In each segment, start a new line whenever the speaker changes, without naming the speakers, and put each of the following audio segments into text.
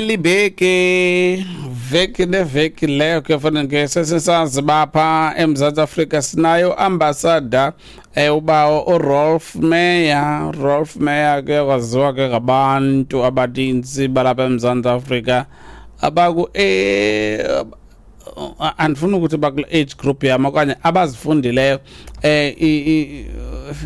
Libeke veki neveki leyo ke fana ke sesisazi bapha eMzantsi Afrika sinayo ambassador ubawo uRolf Meyer. Rolf Meyer ke kwaziwa ke ngabantu abaninzi balapha eMzantsi Afrika abaku andifuni ukuthi bakule age group yam okanye abazifundileyo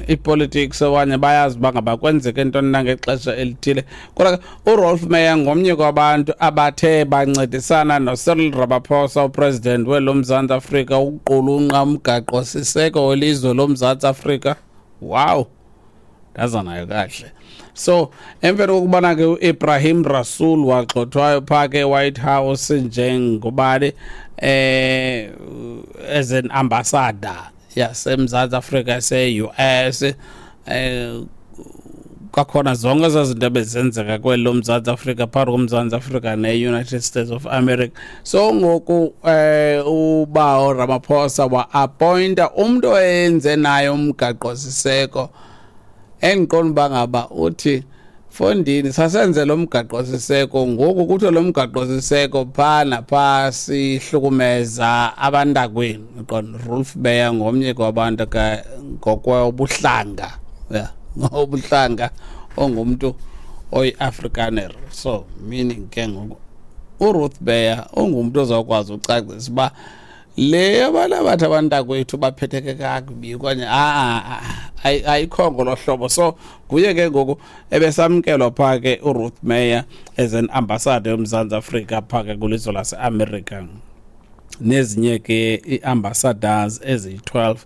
i-politics okanye bayazi uba ngaba kwenzeke ntoni na ngexesha elithile. Kodwa ke uRolf Meyer ngomnye kwabantu abathe bancedisana noCyril Ramaphosa, upresident welo Mzantsi Afrika, ukuqulunqa umgaqo-siseko welizwe loMzantsi Afrika. Wow, ndaza nayo kakuhle. So emveni kokubana ke uIbrahim Rasool wagxothwayo phaa ke White House njengobani as an ambassador yaseMzantsi Afrika ese-US, kwakhona zonke ezaa zinto ebezenzeka kweli loMzantsi Afrika phakathi koMzantsi Afrika ne-United States of America. So ngoku ubawo Ramaphosa wa-appointa umntu oyenze naye umgaqo-siseko, endiqonda uba ngaba uthi fondini sasenze lo mgaqo-siseko, ngoku kuthiwe lo mgaqo-siseko phaa naphaa sihlukumeza abantakwenu. Uqonda Rolf Meyer ngomnye kwabantu ke ngokwebuhlanga, yeah, ngobuhlanga ongumntu oyi-Afrikaner. So meaning ke ngoku uRuth Meyer ungumntu ozawukwazi ucacisa uba le abantu abathi abantakwethu baphetheke kakubi okanye ayikho ngolo hlobo. So nguye ke ngoku ebesamkelwa phaa ke uRuth Meyer as an ambassador yoMzantsi Afrika phaa ke kwilizwe laseAmerica, nezinye ke ii-ambassadors eziyi-12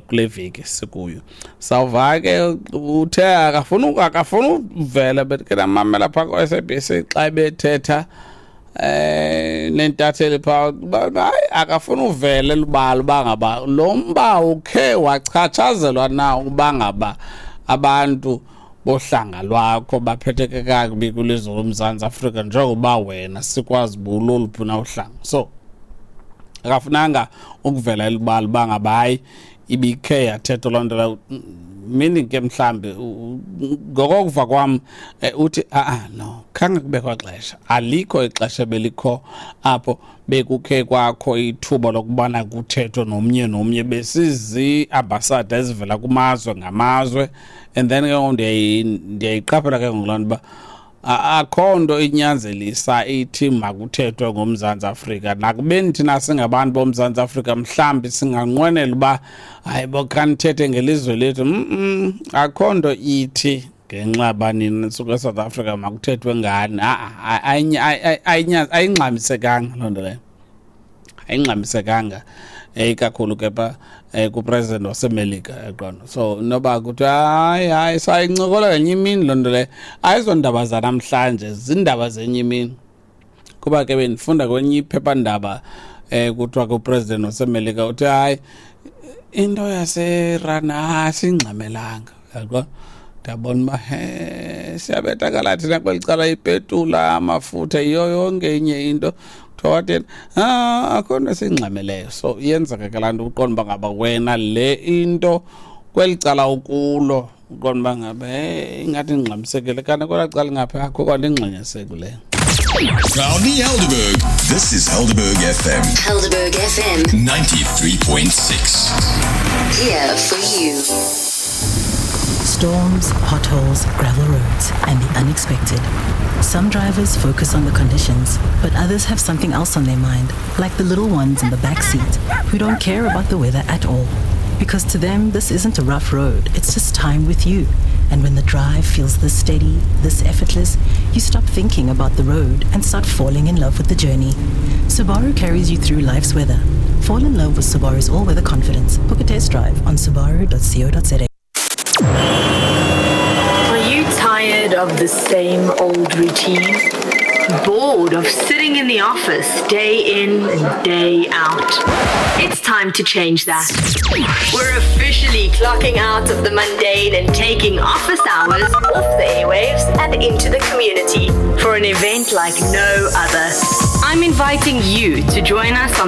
kule veki sikuyo. Sawuva ke uthe akafuna uvela, but ke namamela phaa ku-SABC xa bethetha nentatheli phaa, hayi, akafuna uvela elubala uba ngaba lo mba ukhe wachatshazelwa na uba ngaba abantu bohlanga lwakho baphetheke kakubi kwilizwe loMzantsi Afrika, njengoba wena sikwazi uba uloluphi na uhlanga. So akafunanga ukuvela elubala uba ngaba hayi ibikhe yathethwa loo nto leyo, meaning ke mhlambi ngokokuva kwam uthi a-a no, khange kubekho xesha, alikho ixesha belikho apho bekukhe kwakho ithuba lokubana kuthethwe nomnye nomnye, besizi-ambassador ezivela kumazwe ngamazwe. And then ke ngoku ndiyayiqaphela ke ngoku loo nto uba akho nto inyanzelisa ithi makuthethwe ngoMzantsi Afrika, nakubeni thina singabantu boMzantsi Afrika mhlawumbi singanqwenela uba hayi bo khanithethe ngelizwe lethu. Akho nto ithi ngenxa banini nisuka eSouth Africa makuthethwe ngani. Ayingxamisekanga loo nto leyo, ayingxamisekanga ikakhulu ke pha kupresident waseMelika yaqonda. So noba kuthiwa hayi hayi sayincokola ngenye imini loo nto leyo, ayizondaba zanamhlanje, zindaba zenye imini. Kuba ke bendifunda kwenye iphephandaba kuthiwa ke upresident waseMelika uthi hayi into yaseIran asingxamelanga, yaqonda. Ndiyabona uba he siyabethakala thina kweli cala, ipetula, amafutha, yiyo yonke enye into. Kuthiwa wathini, akho nto esiyingxameleyo. So iyenzeka ke laa nto, uqonda uba ngaba wena le into kweli cala ukulo uqonda uba ngaba hey ingathi ingxamisekile, kanti kwelaa cala ingaphi akho kwanto ingxamisekileyo.
Proudly Helderberg. This is Helderberg FM.
Helderberg FM
93.6.
Here for you.
Storms, potholes, gravel roads, and the unexpected. Some drivers focus on the conditions, but others have something else on their mind, like the little ones in the back seat who don't care about the weather at all. Because to them, this isn't a rough road, it's just time with you. And when the drive feels this steady, this effortless, you stop thinking about the road and start falling in love with the journey. Subaru carries you through life's weather. Fall in love with Subaru's all weather confidence. Book a test drive on subaru.co.za.
Are you tired of the same old routine? Bored of sitting in the office day in and day out? It's time to change that. We're officially clocking out of the mundane and taking office hours off the airwaves and into the community for an event like no other. I'm inviting you to join us on the